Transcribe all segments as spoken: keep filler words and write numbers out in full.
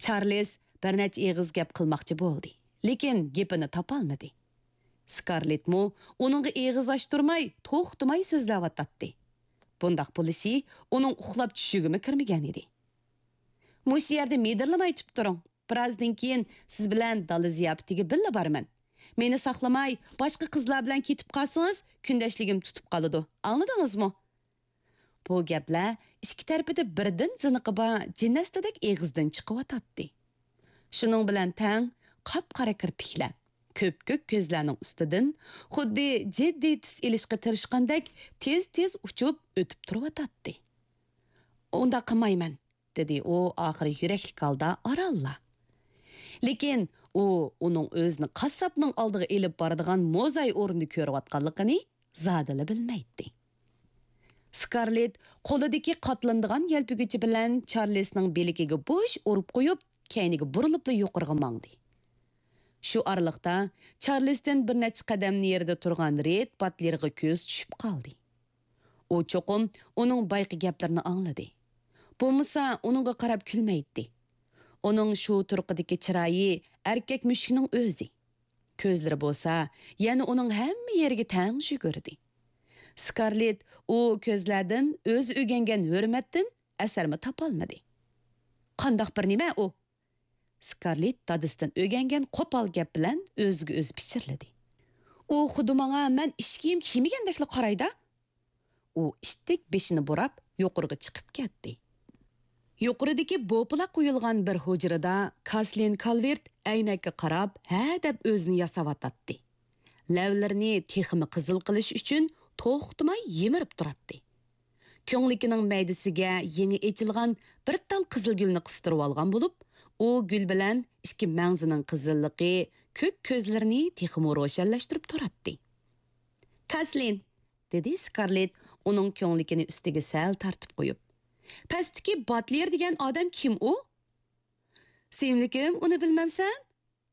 چارلىز بىر نەچچە ئېغىز گەپ قىلماقچى بولدى، لېكىن گېپىنى تاپالمىدى. سكارلېتمۇ ئۇنىڭغا ئېغىز ئاچتۇرماي، توختىماي سۆزلەۋاتاتتى. بۇنداق بولۇشى ئۇنىڭ ئۇخلاپ چۈشىگىمۇ كىرمىگەن ئىدى. مۇشۇ يەردە مىدىرلىماي تۇرۇپ تۇرۇڭ. بىرازدىن كېيىن سىز بىلەن دالا زىياپىتىگە بىللە بارىمەن. مېنى ساقلىماي، باشقا قىزلار بىلەن كېتىپ قالسىڭىز، كۈندەشلىكىم تۇتۇپ قالىدۇ. ئاڭلىدىڭىزمۇ؟ بۇ گەپلەر ئىككى تەرىپىدە بىردىن زىنىقى بار جىننەستىدەك ئېغىزدىن چىقىۋاتاتتى. شۇنىڭ بىلەن تەڭ قاپقارا كىرپىكلەر، كۆپكۆك كۆزلەرنىڭ ئۈستىدىن خۇددى جىددىي تۈس ئېلىشقا تىرىشقاندەك تېز-تېز ئۇچۇپ ئۆتۈپ تۇرۇۋاتاتتى. ئۇنداق قىلمايمەن، دېدى ئۇ ئاخىرى يۈرەكلىك ھالدا ئارانلا. لېكىن ئۇ ئۇنىڭ ئۆزىنى قاسساپنىڭ ئالدىغا ئېلىپ بارىدىغان موزاي ئورنىدا كۆرۈۋاتقانلىقىنى زادىلا بىلمەيتتى. سكارلېت قولىدىكى قاتلىنىدىغان يەلپۈگۈچى بىلەن چارلىسنىڭ بىلىكىگە بوش ئۇرۇپ قويۇپ، كەينىگە بۇرۇلۇپلا يۇقىرىغا ماڭدى. شۇ ئارىلىقتا چارلىستىن بىر نەچچە قەدەم نېرىدا تۇرغان رېد باتلېرغا كۆزى چۈشۈپ قالدى. ئۇ چوقۇم ئۇنىڭ بايىقى گەپلىرىنى ئاڭلىدى. بولمىسا ئۇنىڭغا قاراپ كۈلمەيتتى. ئۇنىڭ شۇ تۇرقىدىكى چىرايى ئەركەك مۈشۈكنىڭ ئۆزى. كۆزلىرى بولسا يەنە ئۇنىڭ ھەممە يېرىگە تەڭ يۈگۈردى. سكارلېت ئۇ كۆزلەردىن ئۆزى ئۆگەنگەن ھۆرمەتتىن ئەسەرمۇ تاپالمىدى. قانداق بىر نېمە ئۇ؟ سكارلېت دادىسىدىن ئۆگەنگەن قوپال گەپ بىلەن ئۆزىگە ئۆزى پىچىرلىدى. ئۇ خۇددى ماڭا مەن ئىچ كىيىم كىيمىگەندەكلا قارايدا. ئۇ ئىتتىك بېشىنى بۇراپ يۇقىرىغا چىقىپ كەتتى. يۇقىرىدىكى بوپىلاق قويۇلغان بىر ھۇجرىدا كاسلىن كالۋېرت ئەينەككە قاراپ ھە دەپ ئۆزىنى ياساۋاتاتتى. لەۋلىرىنى تېخىمۇ قىزىل قىلىش ئۈچۈن توختىماي يىمىرىپ تۇراتتى. كۆڭلىكىنىڭ مەيدىسىگە يېڭى ئېچىلغان بىر تال قىزىل گۈلنى قىستۇرۇۋالغان بولۇپ، ئۇ گۈل بىلەن ئىككى مەڭزىنىڭ قىزىللىقى كۆك كۆزلىرىنى تېخىمۇ روشەنلەشتۈرۈپ تۇراتتى. كاسلىن، دېدى سكارلېت ئۇنىڭ كۆڭلىكىنى ئۈستىگە سەل تارتىپ قويۇپ. پەستىكى باتلېر دېگەن ئادەم كىم ئۇ؟ سۆيۈملۈكۈم، ئۇنى بىلمەمسەن؟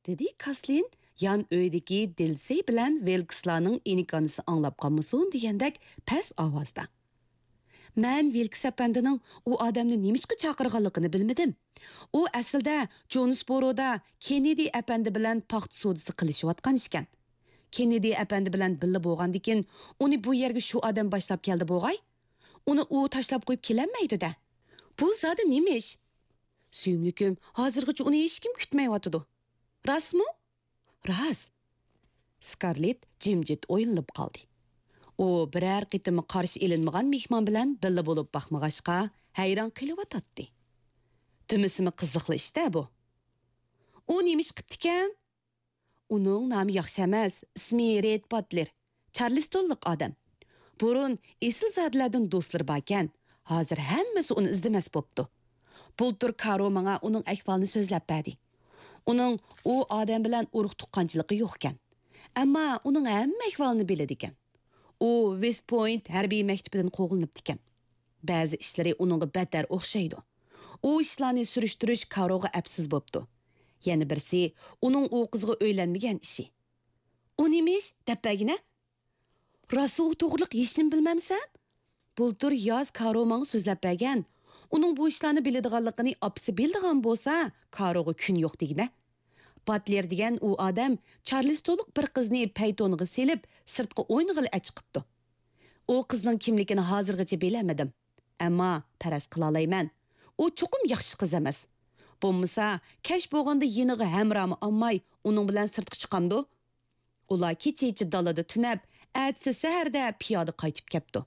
دېدى كاسلىن يان ئۆيدىكى دىلسەي بىلەن ۋىلكسلارنىڭ ئىنكانىسى ئاڭلاپ قالمىسۇن دېگەندەك پەس ئاۋازدا. مەن ۋىلكس ئەپەندىنىڭ ئۇ ئادەمنى نېمىشقا چاقىرغانلىقىنى بىلمىدىم. ئۇ ئەسلىدە جونسبورودا كېننېدى ئەپەندى بىلەن پاختا سودىسى قىلىشىۋاتقان ئىكەن. كېننېدى ئەپەندى بىلەن بىللە بولغاندىكىن، ئۇنى بۇ يەرگە شۇ ئادەم باشلاپ كەلدى بوغاي. ئۇنى ئۇ تاشلاپ قويۇپ كېلەلمەيدۇ-دە. بۇ زادى نېمە ئىش؟ سۆيۈملۈكۈم، ھازىرغىچە ئۇنى ھېچكىم كۈتمەيۋاتىدۇ. راستمۇ؟ راست. سكارلېت جىمجىت ئويلىنىپ قالدى. ئۇ بىرەر قېتىممۇ قارشى ئېلىنمىغان مېھمان بىلەن بىللە بولۇپ باقمىغاچقا، ھەيران قېلىۋاتاتتى. دېمىسىمۇ قىزىقلا ئىش-دە بۇ. ئۇ نېمە ئىش قىپتىكەن؟ ئۇنىڭ نامى ياخشى ئەمەس، ئىسمى رېد باتلېر. چارلىستونلۇق ئادەم. بۇرۇن ئېسىلزادىلەردىن دوستلىرى باركەن، ھازىر ھەممىسى ئۇنى ئىزدىمەس بوپتۇ. بۇلتۇر كارو ماڭا ئۇنىڭ ئەھۋالىنى سۆزلەپ بەردى. ئۇنىڭ ئۇ ئادەم بىلەن ئۇرۇق-تۇغقانچىلىقى يوقكەن. ئەمما ئۇنىڭ ھەممە ئەھۋالىنى بىلىدىكەن. ئۇ ۋېست پوينت ھەربىي مەكتىپىدىن قوغلىنىپتىكەن. بەزى ئىشلىرى ئۇنىڭغا بەتتەر ئوخشايدۇ. ئۇ ئىشلارنى سۈرۈشتۈرۈش كاروغا ئەپسىز بوپتۇ. يەنە بىرسى ئۇنىڭ ئۇ قىزغا ئۆيلەنمىگەن ئىشى. ئۇ نېمە ئىش؟ دەپ بەرگىنە. راستى ئۇ توغرىلىق ھېچنېمە بىلمەمسەن؟ بۇلتۇر ياز كارو ماڭا سۆزلەپ بەرگەن. ئۇنىڭ بۇ ئىشلارنى بىلىدىغانلىقىنى ئاپىسى بىلىدىغان بولسا، كاروغا كۈن يوق دېگىنە. باتلېر دېگەن ئۇ ئادەم چارلىستونلۇق بىر قىزنى پەيتونىغا سېلىپ، سىرتقا ئوينىغىلى ئەچىقىپتۇ. ئۇ قىزنىڭ كىملىكىنى ھازىرغىچە بىلەلمىدىم. ئەمما پەرەز قىلالايمەن، ئۇ چوقۇم ياخشى قىز ئەمەس. بولمىسا، كەچ بولغاندا يېنىغا ھەمراھمۇ ئالماي، ئۇنىڭ بىلەن سىرتقا چىقامدۇ؟ ئۇلار كېچىچە دالىدا تۈنەپ، ئەتىسى سەھەردە پىيادە قايتىپ كەپتۇ.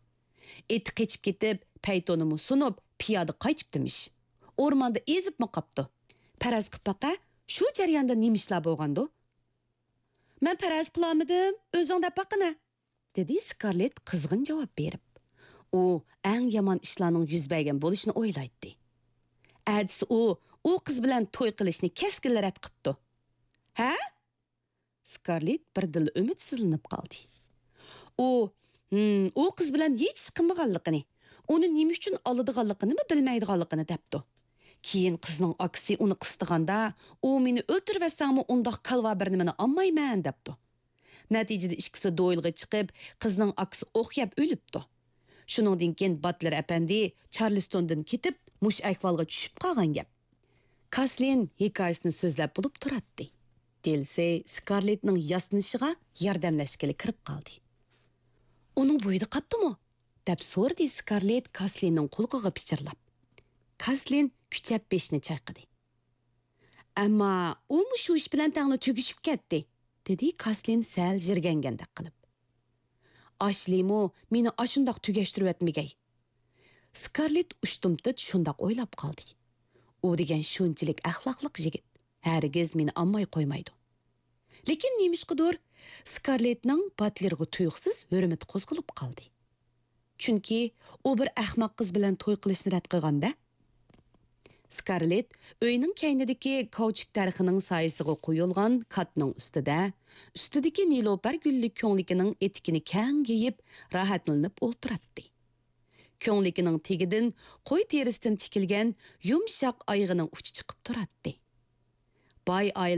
ئېتى قېچىپ كېتىپ، پەيتونىمۇ سۇنۇپ، پىيادە قايتىپتىمىش. ئورماندا ئېزىپمۇ قاپتۇ. پەرەز قىپ باقە، شۇ جەرياندا نېمە ئىشلار بولغاندۇ؟ مەن پەرەز قىلالمىدىم، ئۆزۈڭ دەپ باققىنە، دېدى سكارلېت قىزغىن جاۋاب بېرىپ. ئۇ ئەڭ يامان ئىشلارنىڭ يۈز بەرگەن بولۇشىنى ئويلايتتى. ئەتىسى ئۇ، ئۇ قىز بىلەن توي قىلىشنى كەسكىنلا رەت قىپتۇ. ھە؟ سكارلېت بىردىنلا ئۈمىدسىزلىنىپ قالدى. ئۇ، ھىم، ئۇ قىز بىلەن ھېچ ئىش قىلمىغانلىقىنى، ئۇنى نېمە ئۈچۈن ئالىدىغانلىقىنىمۇ بىلمەيدىغانلىقىنى دەپتۇ. كېيىن قىزنىڭ ئاكىسى ئۇنى قىستىغاندا، ئۇ مېنى ئۆلتۈرۈۋەتسەڭمۇ ئۇنداق كالۋا بىر نېمىنى ئالمايمەن دەپتۇ. نەتىجىدە ئىككىسى دوئېلغا چىقىپ، قىزنىڭ ئاكىسى ئوق يەپ ئۆلۈپتۇ. شۇنىڭدىن كېيىن باتلېر ئەپەندى چارلىستوندىن كېتىپ، مۇشۇ ئەھۋالغا چۈشۈپ قالغان گەپ. كاسلىن ھېكايىسىنى سۆزلەپ بولۇپ تۇراتتى. دىلسەي سكارلېتنىڭ ياسىنىشىغا ياردەملەشكىلى كىرىپ قالدى. «ئۇنىڭ بويىدا قاپتىمۇ؟» دەپ سورىدى سكارلېت كاسلىننىڭ قۇلىقىغا پىچىرلاپ. كاسلىن كۈچەپ بېشىنى چايقىدى. «ئەمما ئۇمۇ شۇ ئىش بىلەن تەڭلا تۈگىشىپ كەتتى»، دېدى كاسلىن سەل يىرگەنگەندەك قىلىپ. «ئاشلىمۇ مېنى ئاشۇنداق تۈگەشتۈرۈۋەتمىگەي.» سكارلېت ئۇشتۇمتۇت شۇنداق ئويلاپ قالدى. «ئۇ دېگەن شۇنچىلىك ئەخلاقلىق يىگىت، ھەرگىز مېنى ئالماي قويمايدۇ.» لېكىن نېمىشقىدۇر سكارلېتنىڭ باتلېرغا تۇيۇقسىز ھۆرمىتى قوزغىلىپ قالدى. چۈنكى ئۇ بىر ئەخمەق قىز بىلەن توي قىلىشنى رەت قىلغاندا. سكارلېت ئۆينىڭ كەينىدىكى كاۋچۇك دەرىخىنىڭ سايىسىغا قويۇلغان كاتنىڭ ئۈستىدە، ئۈستىدىكى نېلۇپەر گۈللۈك كۆڭلىكىنىڭ ئېتىكىنى كەڭ يېيىپ، راھەتلىنىپ ئولتۇراتتى. كۆڭلىكىنىڭ تېگىدىن قوي تېرىسىدىن تىكىلگەن يۇمشاق ئايىغىنىڭ ئۇچى چىقىپ تۇراتتى. باي